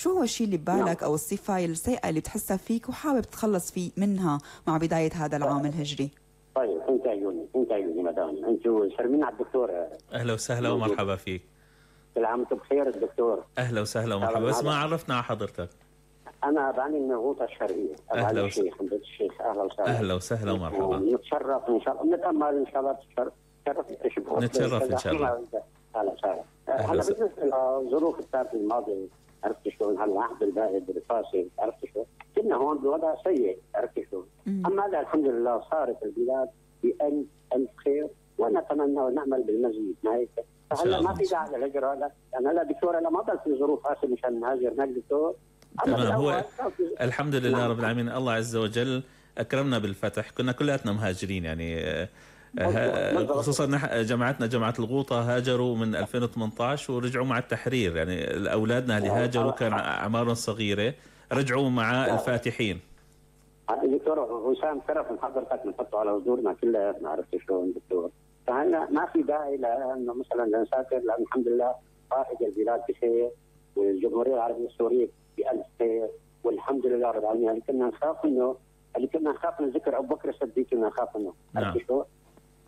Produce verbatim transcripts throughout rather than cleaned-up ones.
شو هو الشيء اللي ببالك أو الصفة السيئة اللي بتحسها فيك وحابب تتخلص فيه منها مع بداية هذا العام الهجري؟ طيب انت عيوني انت عيوني مدام انتوا شرمين على الدكتور. اهلا وسهلا ومرحبا فيك. كل عام وانتم بخير الدكتور. اهلا وسهلا ومرحبا، بس ما عرفنا على حضرتك. انا بعاني من الغوطه الشرقيه. اهلا وسهلا الشيخ حمد الشيخ. اهلا وسهلا. اهلا وسهلا ومرحبا. نتشرف ان شاء الله، نتامل ان شاء الله. تشرف تشرف نتشرف ان شاء الله. اهلا وسهلا. هلا بالنسبه للظروف السنه الماضيه عرفت شلون هالعهد البائد الفاسد، عرفت شلون كنا هون بوضع سيء، عرفت شلون. اما هذا الحمد لله صارت البلاد بألف ألف خير، ونتمنى ونامل بالمزيد. ما هيك فهلا ما في داعي للهجره. هذا انا لا دكتور، انا ما ضل في ظروف قاسيه مشان نهاجر هناك دكتور. تمام. هو الحمد لله نعم. رب العالمين، الله عز وجل اكرمنا بالفتح، كنا كلياتنا مهاجرين يعني، خصوصا جماعتنا جماعه الغوطه هاجروا من ألفين وثمانية عشر ورجعوا مع التحرير، يعني اولادنا اللي هاجروا كان اعمارهم صغيره رجعوا مع الفاتحين. دكتور وسام شرف من حضرتك بنحطه على حضورنا كلياتنا، عرفت شلون دكتور. فهلا ما في داعي لانه مثلا نسافر، لان الحمد لله قائد البلاد بخير والجمهوريه العربيه السوريه بألف خير والحمد لله رب العالمين. اللي كنا نخاف منه اللي كنا نخاف من ذكر ابو بكر الصديق كنا نخاف منه. نعم.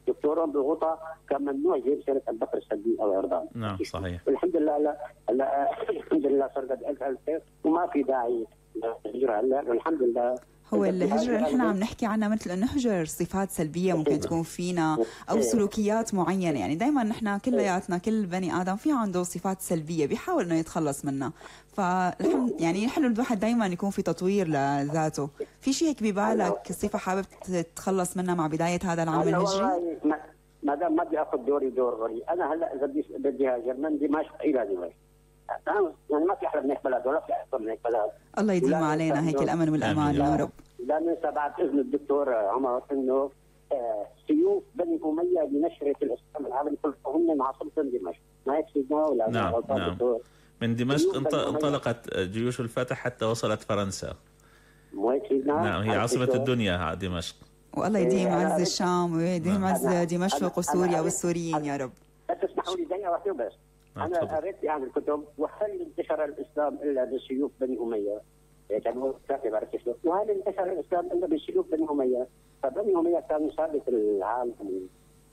دكتور بالغوطه كان ممنوع يجيب سيره ابو بكر الصديق او اردان. نعم صحيح. والحمد لله لا, لا الحمد لله صار قد ألف ألف خير وما في داعي للهجره هلا والحمد لله. هو الهجرة اللي نحن عم نحكي عنها مثل انه نهجر صفات سلبية ممكن تكون فينا او سلوكيات معينة، يعني دائما نحن كلياتنا كل بني ادم في عنده صفات سلبية بيحاول انه يتخلص منها، فالحمد يعني حلو الواحد دائما يكون في تطوير لذاته. في شيء هيك ببالك صفة حابب تتخلص منها مع بداية هذا العام الهجري؟ ما دام ما بدي اخذ دوري دور غريب، انا هلا اذا بدي بدي هاجر من دمشق الى دمشق، يعني ما في احلى من هيك بلد ولا في احسن من هيك بلد. الله يديم علينا هيك الامن والامان يا رب. لا ننسى بعد اذن الدكتور عمر انه آه سيوف بني اميه لنشره الاسلام العالمي كله هم عاصمتهم دمشق، ما هيك سيدنا ولا؟ نعم نعم. من دمشق انطلقت جيوش الفتح حتى وصلت فرنسا. مو هيك سيدنا؟ نعم هي عاصمه الدنيا دمشق. والله يديم عز الشام ويديم عز دمشق وسوريا والسوريين يا رب. بس اسمحوا لي دقيقه واحده بس. انا قريت يعني الكتب، وهل انتشر الاسلام الا بسيوف بني اميه؟ كانوا كاتب على كشف، وهل انتشر الاسلام الا بسيوف بني اميه؟ فبني اميه كانوا سابق العالم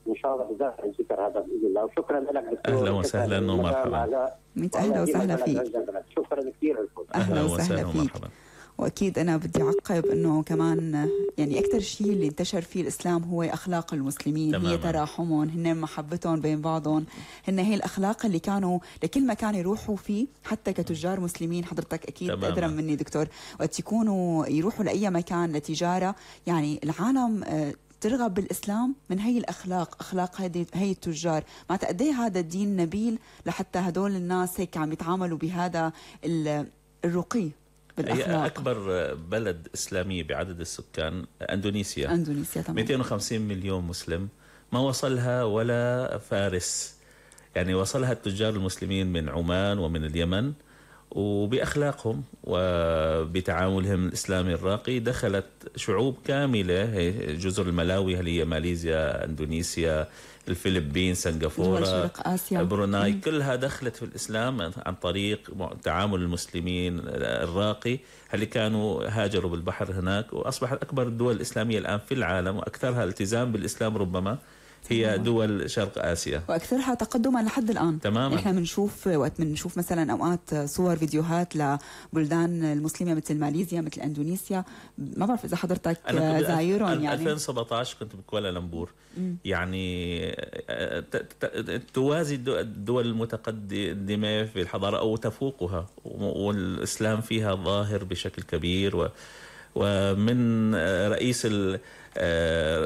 ان شاء الله بذات الذكر هذا باذن الله. وشكرا لك دكتور. اهلا وسهلا ومرحبا. ميت اهلا وسهلا فيك. شكرا كثير لكم. اهلا وسهلا فيك. واكيد انا بدي اعقب انه كمان يعني اكثر شيء اللي انتشر فيه الاسلام هو اخلاق المسلمين. تماما. هي تراحمهم، هن محبتهم بين بعضهم، هن هي الاخلاق اللي كانوا لكل مكان يروحوا فيه حتى كتجار مسلمين. حضرتك اكيد ادرى مني دكتور، وقت يكونوا يروحوا لاي مكان لتجاره يعني العالم ترغب بالاسلام من هي الاخلاق، اخلاق هذه هي التجار. ما قد ايه هذا الدين نبيل لحتى هدول الناس هيك عم يتعاملوا بهذا الرقي. هي أكبر بلد إسلامي بعدد السكان أندونيسيا. أندونيسيا طبعا مئتين وخمسين مليون مسلم، ما وصلها ولا فارس، يعني وصلها التجار المسلمين من عمان ومن اليمن، وبأخلاقهم وبتعاملهم الإسلامي الراقي دخلت شعوب كاملة، جزر الملاوي اللي هي ماليزيا، أندونيسيا، الفلبين، سنغافورة، بروناي، كلها دخلت في الإسلام عن طريق تعامل المسلمين الراقي اللي كانوا هاجروا بالبحر هناك، وأصبحت أكبر الدول الإسلامية الآن في العالم وأكثرها التزام بالإسلام ربما هي دول شرق آسيا، وأكثرها تقدما لحد الآن. تماما. إحنا بنشوف وقت بنشوف مثلا أوقات صور فيديوهات لبلدان المسلمة مثل ماليزيا مثل أندونيسيا، ما بعرف إذا حضرتك زايرهم. يعني ألفين وسبعة عشر كنت بكوالالمبور، يعني توازي الدول المتقدمة في الحضارة أو تفوقها، والإسلام فيها ظاهر بشكل كبير. و ومن رئيس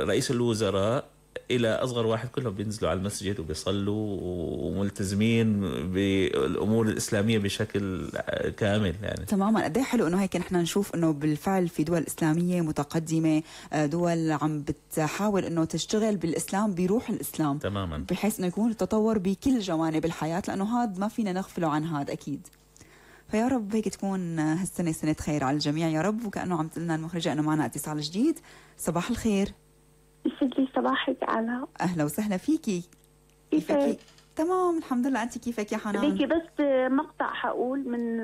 رئيس الوزراء إلى أصغر واحد كلهم بينزلوا على المسجد وبيصلوا وملتزمين بالأمور الإسلامية بشكل كامل يعني. تماما. قد ايه حلو إنه هيك نحن نشوف إنه بالفعل في دول إسلامية متقدمة، دول عم بتحاول إنه تشتغل بالإسلام بروح الإسلام. تماما. بحيث إنه يكون التطور بكل جوانب الحياة، لأنه هذا ما فينا نغفله عن هذا أكيد. فيا رب هيك تكون هالسنة سنة خير على الجميع يا رب. وكأنه عم تقلنا المخرجة إنه معنا اتصال جديد. صباح الخير. يسعد لي صباحك علا. اهلا وسهلا فيكي. كيفك؟ تمام الحمد لله، انت كيفك يا حنان؟ بدي بس مقطع حقول من